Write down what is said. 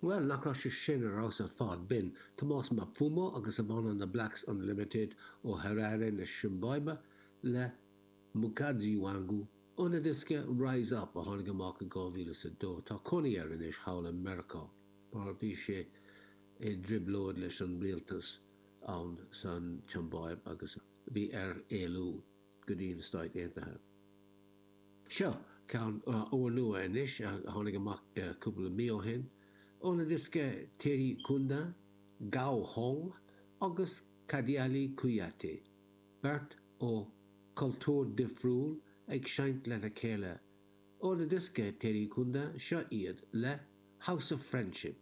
Bhuel, nach raibh sé sin ar fheabhas ar fad? B'in Tomás Mapfumo agus a bhanna na Blacks Unlimited ó Harare na Siombáibe le Mukadzi Wangu óna dhiosca Rise Up a tháinig amach i 2002. Tá cónaí air anois thall i Meiriceá mar bhí sé i dtrioblóid leis an rialtas ann san tSiombáib agus bhí air éalú go dtí na Stáit Aontaithe. Seo ceann úrnua anois a tháinig amach cúpla mí ó shin, óna dhiosca Teri Kunda, Gao Hong agus Kadialy Kouyaté, beirt ó chultúr difriúil ag seinnt lena chéile. Óna dhiosca Teri Kunda, seo iad le House of Friendship.